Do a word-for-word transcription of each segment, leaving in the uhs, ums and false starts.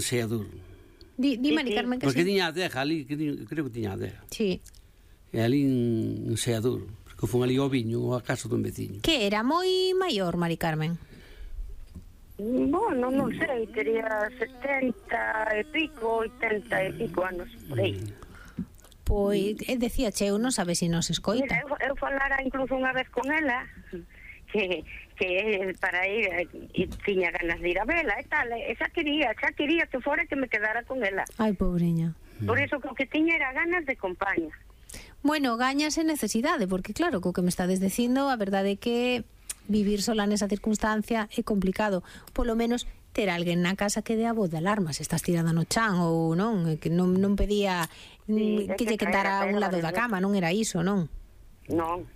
Seador. Di, di Mari Carmen que Porque sí. tiña a adega ali, que tiña, creo que tiña a adega. Sí. E ali en Seador, porque fun ali ao viño, ou a casa dun veciño. Que era moi maior, Mari Carmen? Bueno, non sei, tería setenta e pico, oitenta e pico anos, por aí. Pois, eh, decía, che, eu non sabe se nos escoita. Mira, eu, eu falara incluso unha vez con ela, que, que para ir, e tiña ganas de ir a vela e tal, e xa quería, xa quería que fora que me quedara con ela. Ai, pobreña. Por iso que o que tiña era ganas de compañía. Bueno, gañas en necesidade, porque claro, co que me estades dicindo, a verdade é que vivir sola nesa circunstancia é complicado. Polo menos ter alguén na casa que dé a voz de alarma, se estás tirada no chan ou non, que non, non pedía Sí, mm, que lle que quedara a un lado da cama, non era iso, non? Non.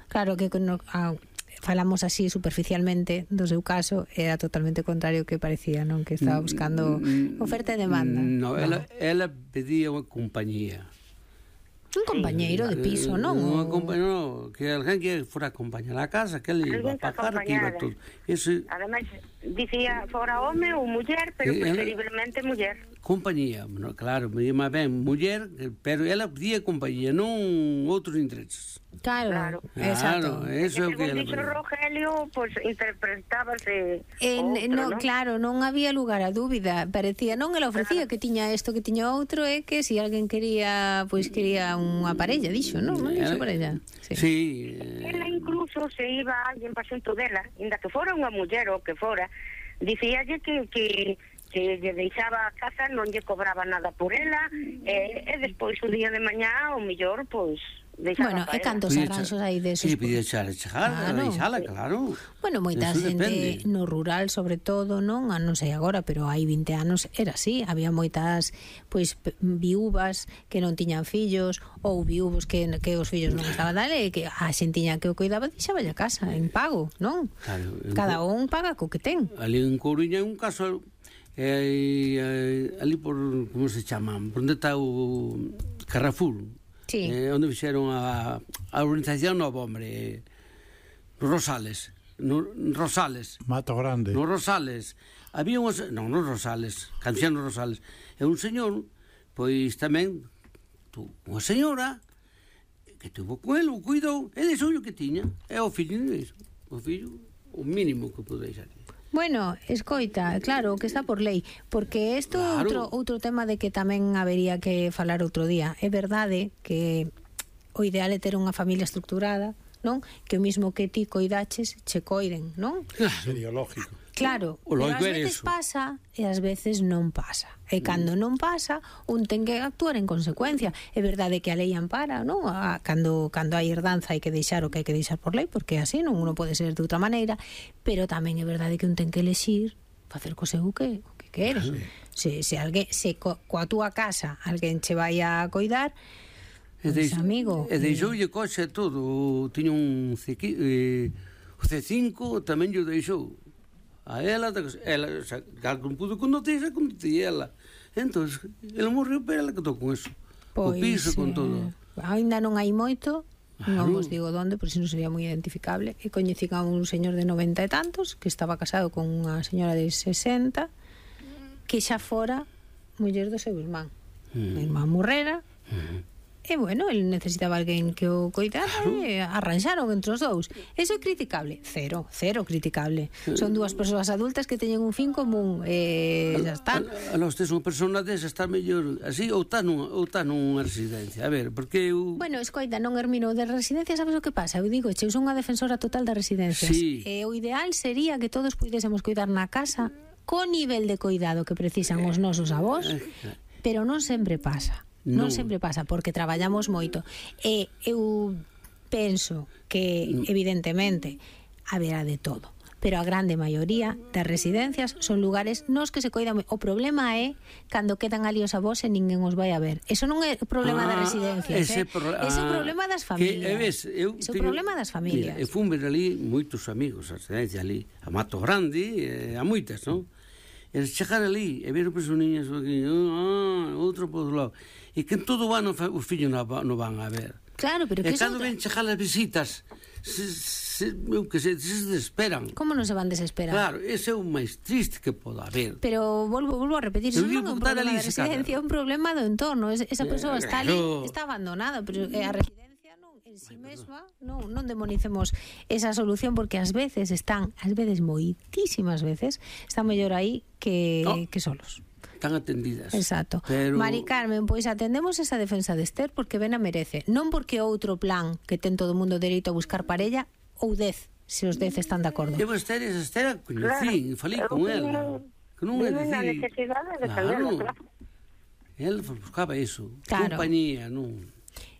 Claro que no, ah, falamos así superficialmente do seu caso, era totalmente contrario que parecía, non? Que estaba buscando oferta e demanda. No, ela, ela pedía unha compañía. Un compañeiro de piso, non? Unha O- compañía, que alguén que fora a acompañar a casa, que ele iba a Alguén que pagar, que iba acompañara. todo. Ese, Ademais, dicía fora home ou muller, pero Eh, ela- preferiblemente muller. compañía, no, claro, me llama ben muller, pero ela pedía compañía, non outros intereses. Claro, Claro. exacto. Claro, eso é o que Según ela dixo pedía. Rogelio, pois pues, interpretábase En, outro, no, non? claro, non había lugar a dúbida. Parecía, non, ela ofrecía que tiña isto, que tiña outro, e que se si alguén quería, pois quería unha parella, dixo, non? Non dixo parella. Sí. Sí, eh, Ela incluso se iba alguén para xunto dela, inda que fora unha muller ou que fora, dicíalle que, que, que lle deixaba a casa, non lle cobraba nada por ela, e, e despois o día de mañá, o mellor, pois, deixaba Bueno, para e ela. cantos podía arranxos cha- hai desos? Sí, podía echar, chegar, Claro. deixala, claro. Bueno, moita Eso xente depende. no rural, sobre todo, non, a non sei agora, pero hai vinte anos era así, había moitas pois p- viúvas que non tiñan fillos ou viúvos que que os fillos non estaban dale, e que a xentiña que o cuidaba deixaba a casa en pago, non? Claro, en Cada un paga co que ten. Ali en Coruña hai un caso eh, eh, ali por, como se chama, por onde está o Carrefour. Sí. Eh, onde fixeron a, a urbanización Novo Hombre, no Rosales, no Rosales. Mato Grande. No Rosales. Había unhas, non, nos Rosales, Canciano Rosales. E un señor, pois tamén, tu, unha señora, que tuvo con ele, o cuidou, e deixou o que tiña. E o fillo, iso. O fillo, o mínimo que pude deixar. Bueno, escoita, claro, que está por lei, porque isto é Claro. outro, outro tema de que tamén habería que falar outro día. É verdade que o ideal é ter unha familia estructurada, non? Que o mismo que ti coidaches, che coiden, non? Sería lógico. Claro, O pero lógico ás era veces eso. pasa e ás veces non pasa. E cando non pasa, un ten que actuar en consecuencia. É verdade que a lei ampara, non? A, cando, cando hai herdanza hai que deixar o que hai que deixar por lei, porque así non uno pode ser de outra maneira, pero tamén é verdade que un ten que elexir facer co seu o que, o que quere. Se, se, alguén, se co, coa túa casa alguén che vai a coidar, E pois, deix- amigo, E deixoulle coxe todo. Tiña un C, eh, o C cinco tamén lle deixou. A ela, ela, xa, non pudo conducir, xa conducía ela. Entón, ele morreu, pero ela quedou con eso. O piso, con todo. Ainda non hai moito, non Claro. vos digo donde, por si non sería moi identificable. E coñecín a un señor de noventa e tantos que estaba casado con unha señora de sesenta que xa fora muller do seu irmán. Mm. A irmán morrera. E bueno, el necesitaba alguén que o coidara e arranxaron entre os dous. Eso é criticable? Cero, cero criticable. Son dúas persoas adultas que teñen un fin común e xa está. A, a, a los tes unha persona desa está mellor así ou está nunha, ou está nunha residencia. A ver, porque eu... Bueno, escoita, non Hermino, de residencia sabes o que pasa? Eu digo, che, eu son unha defensora total das residencias. Sí. E o ideal sería que todos puidésemos cuidar na casa co nivel de cuidado que precisan os nosos avós, pero non sempre pasa. Non, Non. sempre pasa, porque traballamos moito. E eu penso que, evidentemente, haberá de todo. Pero a grande maioría das residencias son lugares nos que se coidan. O problema é cando quedan ali os avós e ninguén os vai a ver. Eso non é o problema das residencias, ese eh? pro- Ese é o ah, problema das que, familias. e ves, eu Ese é o teño- problema das familias. Mira, e fun ver ali moitos amigos, a residencia ali, a Mato Grande, e a moitas, non? E chegar ali e ver os niños aquí, ah, outro por outro lado. E que en todo o ano fa- os fillos non va- non van a ver. Claro, pero que E eso... cando ven chegar as visitas, se, se, eu que se, se desesperan. Como non se van desesperar? Claro, ese é o máis triste que pode haber. Pero volvo, volvo a repetir, iso Eu non é un digo, problema ali de se residencia, é un problema do entorno. Es- Esa persoa está ali, Claro. está abandonada, pero eh, a residencia non, en si mesma non, non demonicemos esa solución, porque ás veces están, ás veces moitísimas veces, están mellor aí que, Oh. que solos. Están atendidas. Exacto. Pero... Mari Carmen, pois atendemos esa defensa de Esther porque ben a merece. Non porque outro plan que ten todo o mundo dereito a buscar parella ou dez, se os dez están de acordo. Eu Esther, esa Esther a coñecín, falei con ela. Que non é Vive na dicir... necesidade de Claro. saberlo, claro. Él buscaba iso. Claro. Compañía, non...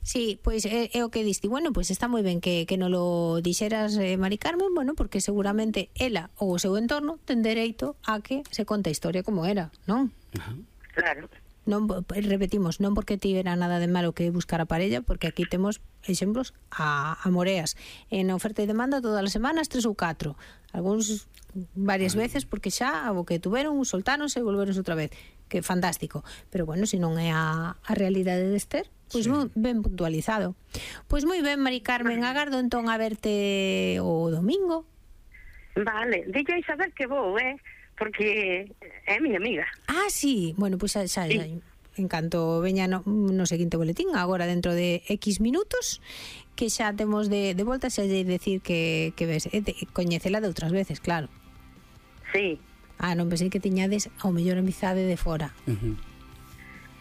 Sí, pois é, é o que diste. Bueno, pois está moi ben que, que non lo dixeras, eh, Mari Carmen, bueno, porque seguramente ela ou o seu entorno ten dereito a que se conte a historia como era, non? Ajá. Claro. Non, repetimos, non porque tivera nada de malo que buscar a parella, porque aquí temos exemplos a, a moreas. En oferta e demanda todas as semanas, tres ou catro. Algúns varias veces, porque xa o que tuveron, soltáronse e volveronse outra vez. Que fantástico. Pero bueno, se non é a, a realidade de Esther, pois sí. Ben puntualizado. Pois moi ben, Mari Carmen, agardo entón a verte o domingo. Vale, dille a Isabel que vou, eh? Porque é miña amiga. Ah, sí. Bueno, pois xa, xa, xa en canto veña no, no seguinte boletín, agora dentro de X minutos, que xa temos de, de volta, xa lle decir que, que ves, eh, de, coñecela de outras veces, claro. Sí. Ah, non pensei que tiñades ao mellor amizade de fora. Uh-huh.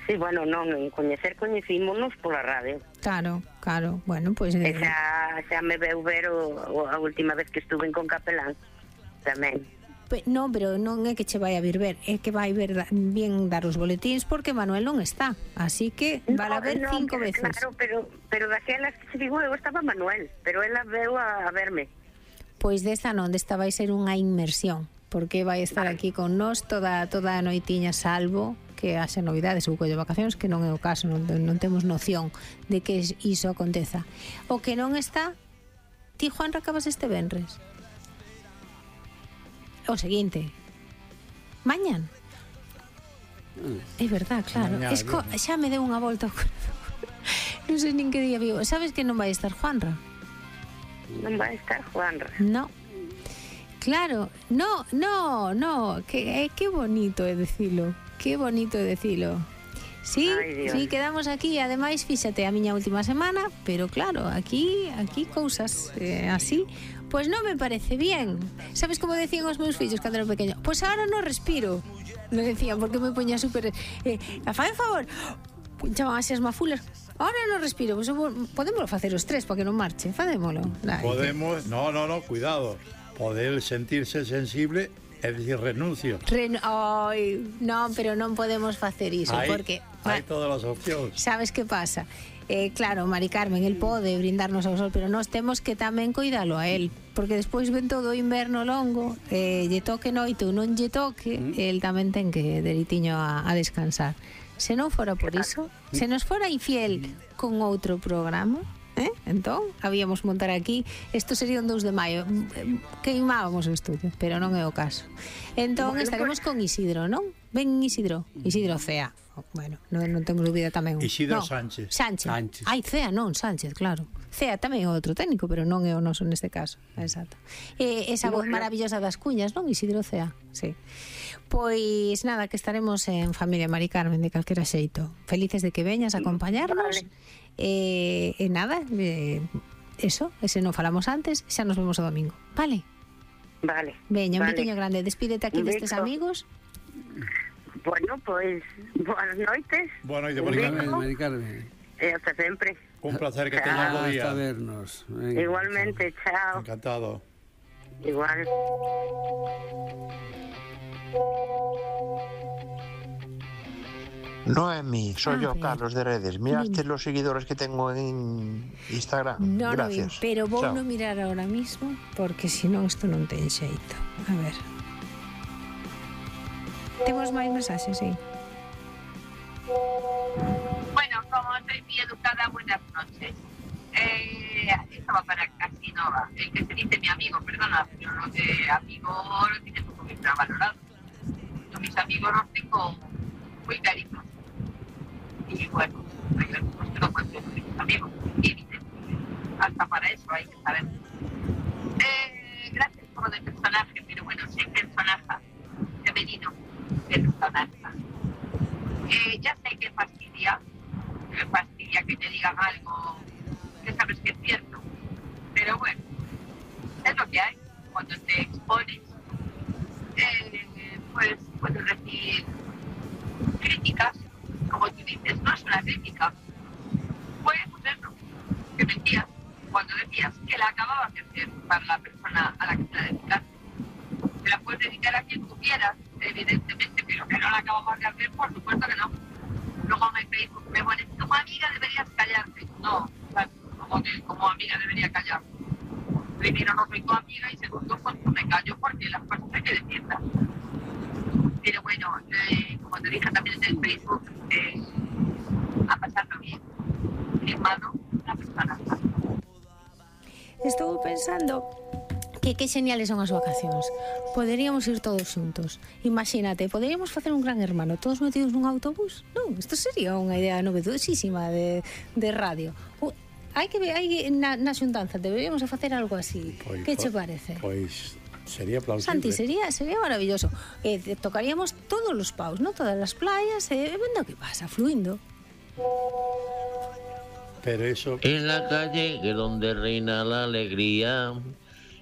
Sí, bueno, non, en coñecer coñecímonos pola radio. Claro, claro. Bueno, pois... E Eh, xa, xa me veu ver o, o, a última vez que estuve con Capelán. Tamén. pe, non, pero non é que che vai a vir ver, é que vai ver da, bien dar os boletíns, porque Manuel non está. Así que vai a ver no, cinco pero, veces. Claro, pero, pero daquelas que se digo, eu estaba Manuel, pero ela veu a, a verme. Pois desta non, desta vai ser unha inmersión, porque vai estar aquí con nós toda, toda a noitiña, salvo que haxa novidades ou collo vacacións, que non é o caso, non, non temos noción de que iso aconteza. O que non está, ti, Juan, acabas este venres? O seguinte, mañan. É verdad, claro. Mañá, Esco, xa me deu unha volta ao corazón. Non sei nin que día vivo. Sabes que non vai estar Juanra? Non vai estar Juanra. No. Claro, no, no, no, que, eh, que bonito é dicilo, que bonito é dicilo. Sí, Ay, Dios. sí, quedamos aquí, ademais, fíxate, a miña última semana, pero claro, aquí, aquí cousas eh, así, pois non me parece bien. Sabes como decían os meus fillos cando era pequeño? Pois agora non respiro, me decían, porque me poña super... Eh, a fai un favor, punchaban así as mafulas, ahora non respiro, pois podemos facer os tres para que non marche, facémolo. Dai, Podemos, no, no, no, cuidado. Poder sentirse sensible é dicir renuncio. Ren Ai, non, pero non podemos facer iso, Hai, porque hai todas as opcións. sabes que pasa? Eh, claro, Mari Carmen, el pode brindarnos ao sol, pero nós temos que tamén cuidalo a él, porque despois ven todo o inverno longo, eh, lle toque noite ou non lle toque, mm. el tamén ten que deritiño a, a descansar. Se non fora por iso, se nos fora infiel con outro programa, eh? Entón, habíamos montar aquí, isto sería un dous de maio, queimábamos o estudio, pero non é o caso. Entón, Bueno, estaremos con Isidro, non? Ven Isidro, Isidro Cea. Bueno, non, non temos dúbida tamén. Isidro no, Sánchez. Sánchez. Sánchez. Ai, Cea non, Sánchez, claro. Cea tamén é outro técnico, pero non é o noso neste caso. Exacto. E esa voz Bueno. maravillosa das cuñas, non? Isidro Cea, sí. Pois nada, que estaremos en familia Mari Carmen de calquera xeito. Felices de que veñas a acompañarnos. Vale. E, e nada, eh, eso, ese non falamos antes, xa nos vemos o domingo. Vale? Vale. Veña, un vale. betiño grande. Despídete aquí Un destes beso. amigos. Bueno, pois, boas noites. Boa noite, Un Mari beso. Carmen. Mari Carmen. E hasta sempre. Un placer que Chao. teñas bo Hasta día. vernos. Venga, Igualmente, chao. Encantado. Igual. Noemi, soy A yo, ver. Carlos de Redes. ¿Miraste Dime. los seguidores que tengo en Instagram? No, no, Gracias. pero vou Chao. non mirar ahora mismo, porque senón isto non ten xeito. A ver. Temos máis mensaxes, sí. Bueno, como soy muy educada, buenas noches. Eh, esto va para Casinova, el que se dice mi amigo, perdona, pero lo de amigo lo tiene poco que estar valorado. Yo mis amigos los tengo muy claritos. Y bueno, hay algunos que no pueden ser mis amigos, límites. Hasta para eso hay que saber. como de personaje, pero bueno, soy personaje femenino, personaje. Eh, ya sé que fastidia, que fastidia que te digan algo que sabes que es cierto, pero bueno, es lo que hay. Cuando te expones, eh, pues puedes recibir críticas, como tú dices, no es una crítica, fue pues eso, que mentías cuando decías que la acababas de hacer para la persona a la que te la dedicaste. Te la puedes dedicar a quien tú quieras, evidentemente, pero que no la acababas de hacer, por supuesto que no. Luego me Facebook me pones, como amiga deberías callarte. No, como que como amiga debería callar. Primero, no soy tu amiga, y segundo, pues me callo porque las cosas hay que decirlas. Pero bueno, eh, como te dije también en el Facebook, eh, a pasarlo bien. Firmado la persona. Estou pensando que que geniales son as vacacións. Poderíamos ir todos xuntos. Imagínate, poderíamos facer un gran hermano, todos metidos nun autobús. Non, isto sería unha idea novedosísima de, de radio. Uh, hai que ver, hai na, na xuntanza deberíamos facer algo así. Pois, que che parece? Pois sería plausible. Santi, sería, sería maravilloso. Eh, tocaríamos todos os paus, ¿no? Todas as playas, e eh, vendo que pasa, fluindo. Pero eso... En la calle que es donde reina la alegría,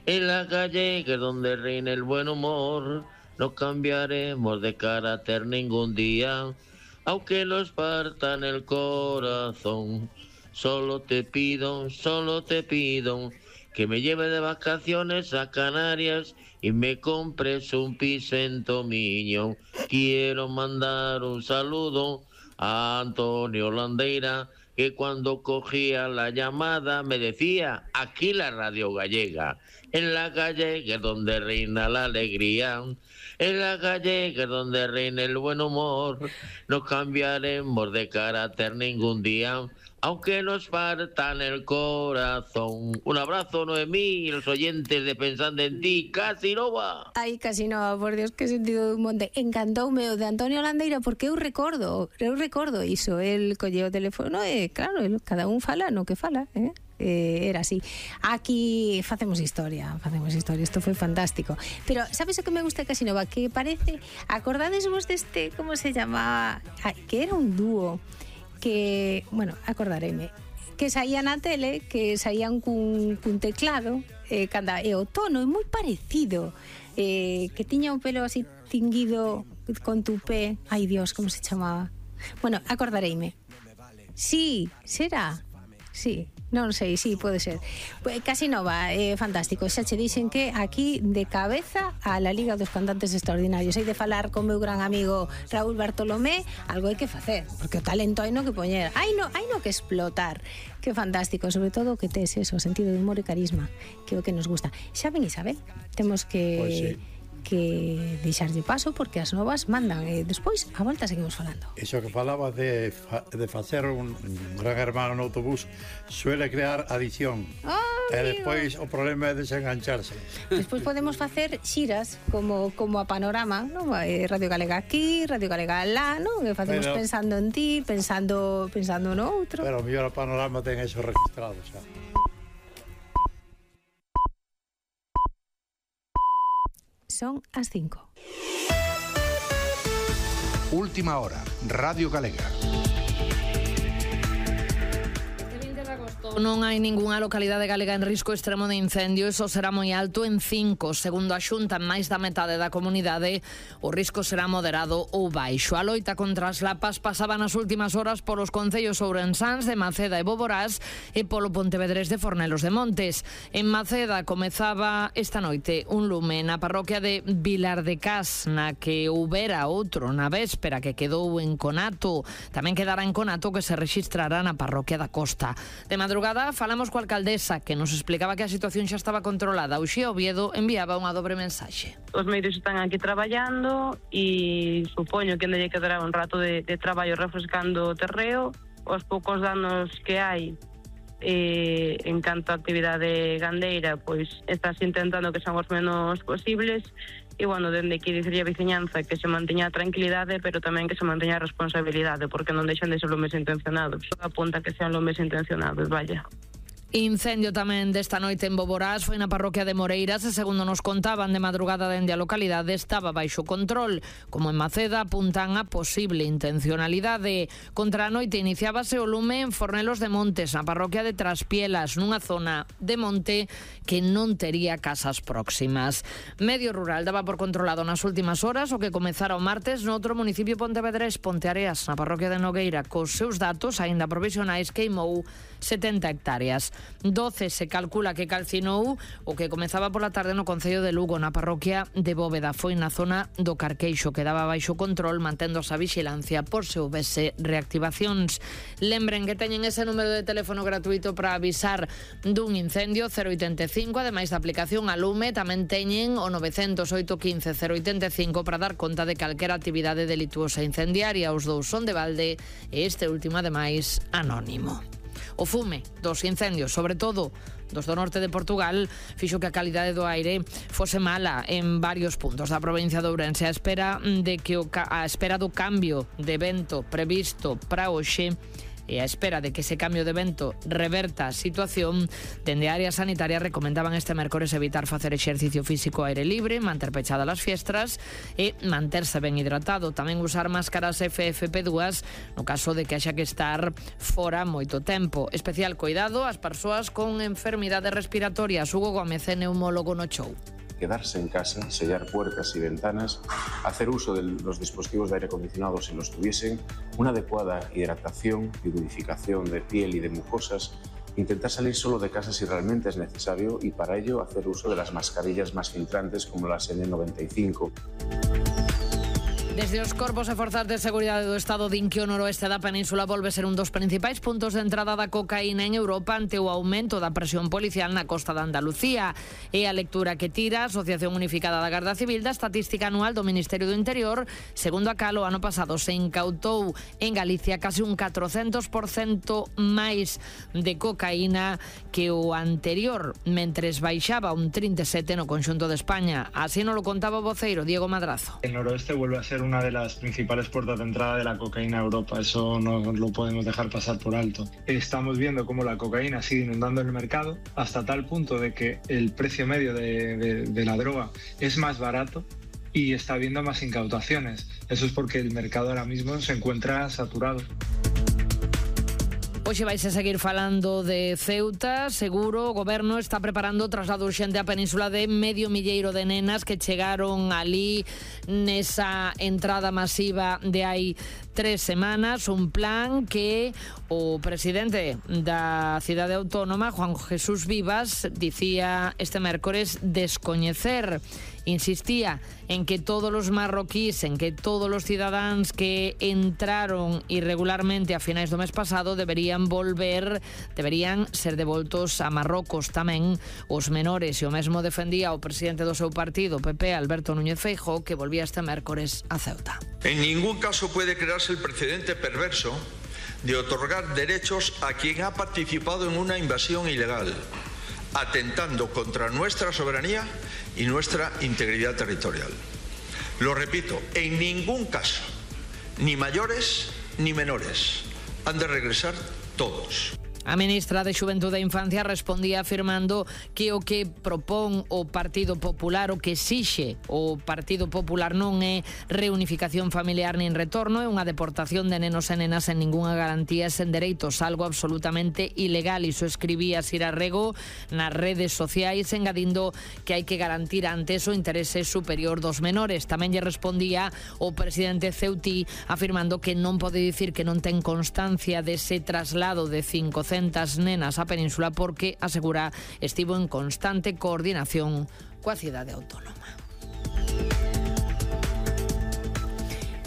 en la calle que es donde reina el buen humor, no cambiaremos de carácter ningún día, aunque nos partan el corazón. Solo te pido, solo te pido que me lleve de vacaciones a Canarias y me compres un piso en Tomiño. Quiero mandar un saludo a Antonio Landeira, que cuando cogía la llamada me decía, aquí la radio gallega, en la calle que es donde reina la alegría, en la calle que es donde reina el buen humor, no cambiaremos de carácter ningún día, aunque nos partan el corazón. Un abrazo, Noemí, y los oyentes de Pensando en Ti, Casinova. Ai, Casinova, por Dios, que sentido de un monte. Encantoume o de Antonio Landeira, porque eu recordo, eu recordo iso, el colleu o teléfono e, claro, el, cada un fala no que fala, eh? Eh, era así. Aquí facemos historia, facemos historia, isto foi fantástico. Pero sabes o que me gusta de Casinova? Que parece, acordades vos deste, como se chamaba? Ah, que era un dúo que, bueno, acordareime, que saían na tele, que saían cun, cun teclado, eh, canda, e o tono é moi parecido, eh, que tiña un pelo así tinguido con tupé. Ai, Dios, como se chamaba? Bueno, acordareime. Sí, será? Sí, non sei, sí, pode ser. Pues, Casinova, é eh, fantástico. Xa che dixen que aquí de cabeza a la Liga dos Cantantes Extraordinarios. Hai de falar con meu gran amigo Raúl Bartolomé, algo hai que facer, porque o talento hai no que poñer, hai no, hai no que explotar. Que fantástico, sobre todo que tes eso, sentido de humor e carisma, que é o que nos gusta. Xa ven, Isabel, temos que... Pues sí. que deixarlle paso porque as novas mandan e despois a volta seguimos falando. Iso que falaba de, fa, de facer un, un gran hermano no autobús suele crear adicción. Oh, e despois o problema é desengancharse. Despois podemos facer xiras como como a Panorama, ¿no? Radio Galega aquí, Radio Galega lá, ¿no? Que facemos pero, pensando en ti, pensando pensando no outro. Pero o mellor a Panorama ten eso registrado, xa. Son as cinco. Última hora, Radio Galega. Non hai ningunha localidade galega en risco extremo de incendio, iso será moi alto en cinco. Segundo a Xunta, máis da metade da comunidade, o risco será moderado ou baixo. A loita contra as lapas pasaba nas últimas horas polos concellos ourensáns de Maceda e Boborás e polo Pontevedrés de Fornelos de Montes. En Maceda comezaba esta noite un lume na parroquia de Vilar de Cas, na que houbera outro na véspera que quedou en conato. Tamén quedará en conato que se rexistrará na parroquia da Costa. De madrugada falamos coa alcaldesa, que nos explicaba que a situación xa estaba controlada. Uxía Oviedo enviaba unha dobre mensaxe. Os medios están aquí traballando e supoño que ainda lle quedará un rato de, de traballo refrescando o terreo. Os poucos danos que hai eh, en canto a actividade gandeira, pois estás intentando que sean os menos posibles. E, bueno, dende aquí dicirlle a veciñanza que se manteña a tranquilidade, pero tamén que se manteña a responsabilidade, porque non deixan de ser lumes intencionados. Apunta que sean lumes intencionados, vaya. Incendio tamén desta noite en Boborás, foi na parroquia de Moreiras e segundo nos contaban de madrugada dende a localidade estaba baixo control. Como en Maceda apuntan a posible intencionalidade. Contra a noite iniciábase o lume en Fornelos de Montes, na parroquia de Traspielas, nunha zona de monte que non tería casas próximas. Medio Rural daba por controlado nas últimas horas o que comezara o martes no outro municipio pontevedrés, Ponteareas, na parroquia de Nogueira, cos seus datos aínda provisionais queimou setenta hectáreas. doce se calcula que calcinou o que comezaba pola tarde no concello de Lugo, na parroquia de Bóveda. Foi na zona do Carqueixo, que daba baixo control, manténdose a vixilancia por se houvese reactivacións. Lembren que teñen ese número de teléfono gratuito para avisar dun incendio, cero oitenta e cinco, ademais da aplicación a Lume, tamén teñen o novecentos oito quince cero oitenta e cinco para dar conta de calquera actividade delituosa incendiaria. Os dous son de balde e este último, ademais, anónimo. O fume dos incendios, sobre todo dos do norte de Portugal, fixo que a calidade do aire fose mala en varios puntos da provincia de Ourense. A espera de que o a espera do cambio de vento previsto para hoxe e a espera de que ese cambio de vento reverta a situación, dende a área sanitaria recomendaban este mércores evitar facer exercicio físico ao aire libre, manter pechadas as fiestras e manterse ben hidratado. Tamén usar máscaras F F P dúas no caso de que haxa que estar fora moito tempo. Especial cuidado ás persoas con enfermidades respiratorias. Hugo Gómez, neumólogo no show. Quedarse en casa, sellar puertas y ventanas, hacer uso de los dispositivos de aire acondicionado si los tuviesen, una adecuada hidratación y humidificación de piel y de mucosas, intentar salir solo de casa si realmente es necesario y para ello hacer uso de las mascarillas más filtrantes como las N noventa y cinco. Desde os corpos e forzas de seguridade do Estado din que o noroeste da península volve ser un dos principais puntos de entrada da cocaína en Europa ante o aumento da presión policial na costa de Andalucía. E a lectura que tira a Asociación Unificada da Garda Civil da Estatística Anual do Ministerio do Interior, segundo a cal o ano pasado se incautou en Galicia casi un catrocentos por cento máis de cocaína que o anterior, mentres baixaba un trinta e sete por cento no conxunto de España. Así nos lo contaba o voceiro Diego Madrazo. El noroeste vuelve a ser una de las principales puertas de entrada de la cocaína a Europa, eso no lo podemos dejar pasar por alto. Estamos viendo cómo la cocaína sigue inundando el mercado hasta tal punto de que el precio medio de, de, de la droga es más barato y está habiendo más incautaciones. Eso es porque el mercado ahora mismo se encuentra saturado. Hoxe vais a seguir falando de Ceuta. Seguro o goberno está preparando o traslado urxente á península de medio milleiro de nenas que chegaron ali nesa entrada masiva de hai tres semanas. Un plan que o presidente da cidade autónoma, Juan Jesús Vivas, dicía este mércores descoñecer. Insistía en que todos os marroquíes, en que todos os cidadáns que entraron irregularmente a finais do mes pasado deberían volver, deberían ser devoltos a Marrocos. Tamén os menores, e o mesmo defendía o presidente do seu partido, P P, Alberto Núñez Feijóo, que volvía este mércores a Ceuta. En ningún caso puede crearse el precedente perverso de otorgar derechos a quien ha participado en una invasión ilegal, atentando contra nuestra soberanía y nuestra integridad territorial. Lo repito, en ningún caso, ni mayores ni menores, han de regresar todos. A ministra de Xuventude e Infancia respondía afirmando que o que propón o Partido Popular, o que exixe o Partido Popular non é reunificación familiar nin retorno, é unha deportación de nenos e nenas sen ningunha garantía e sen dereitos, algo absolutamente ilegal. Iso escribía Sira Rego nas redes sociais, engadindo que hai que garantir antes o interese superior dos menores. Tamén lle respondía o presidente ceutí afirmando que non pode dicir que non ten constancia dese traslado de cincocentas nenas á península porque, asegura, estivo en constante coordinación coa cidade autónoma.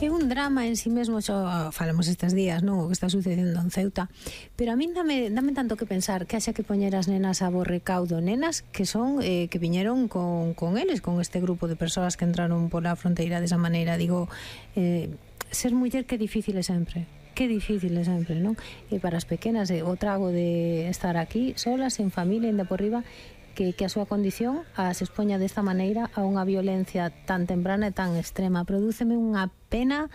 É un drama en sí mesmo, xo falamos estes días, non, o que está sucedendo en Ceuta, pero a min dame, dame tanto que pensar que haxa que poñer as nenas a bo recaudo, nenas que son eh, que viñeron con, con eles, con este grupo de persoas que entraron pola fronteira desa maneira. Digo, eh, ser muller que difícil é sempre. Que difícil é sempre, non? E para as pequenas, eh, o trago de estar aquí solas, sen familia, ainda por riba, que, que a súa condición as expoña desta maneira a unha violencia tan temprana e tan extrema. Prodúceme unha pena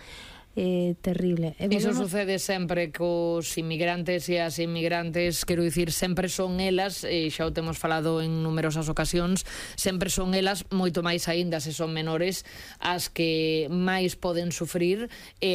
eh, terrible. E Iso volvemos... sucede sempre cos inmigrantes e as inmigrantes, quero dicir, sempre son elas, e xa o temos falado en numerosas ocasións, sempre son elas, moito máis aínda se son menores, as que máis poden sufrir e